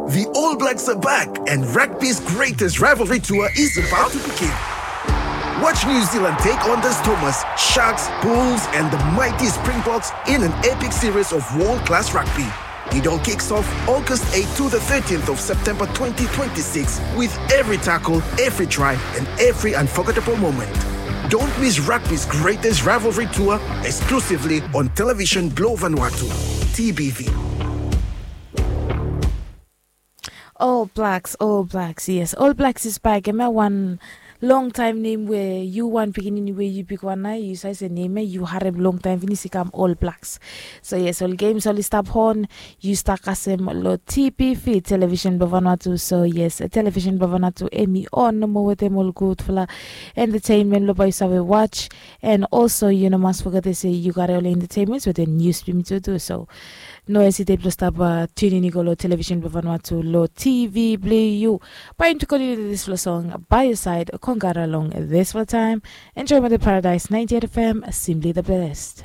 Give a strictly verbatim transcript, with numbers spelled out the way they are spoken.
The All Blacks are back, and rugby's greatest rivalry tour is about to begin. Watch New Zealand take on the Stormers, Sharks, Bulls, and the mighty Springboks in an epic series of world class rugby. It all kicks off August eighth to the thirteenth of September twenty twenty-six, with every tackle, every try, and every unforgettable moment. Don't miss rugby's greatest rivalry tour, exclusively on Television Blue Vanuatu, T B V. All Blacks, All Blacks, yes. All Blacks is back. Hemia wan long time nem we yu wan pikinini we yu bigwan nao yu save se nem ya yu harem long time finis i kam All Blacks. So yes, ol games oli stap hon, yu stap kasem lo T B V Television Blue Vanuatu. So yes, Television Blue Vanuatu hemi on nomo wetem ol gudfala entertainment lo bae yu save watch. And also yu no mas fogete se yu gare ol entertainments wetem news blong yumi tu tu. So no hesitate blong stap tunin i go long Television Blue Vanuatu lo T V blong yu. Bae yumi tu kontiniu dispela song by your side, kongara long dispela taem. Enjoy with the Paradise ninety-eight F M, simply the best.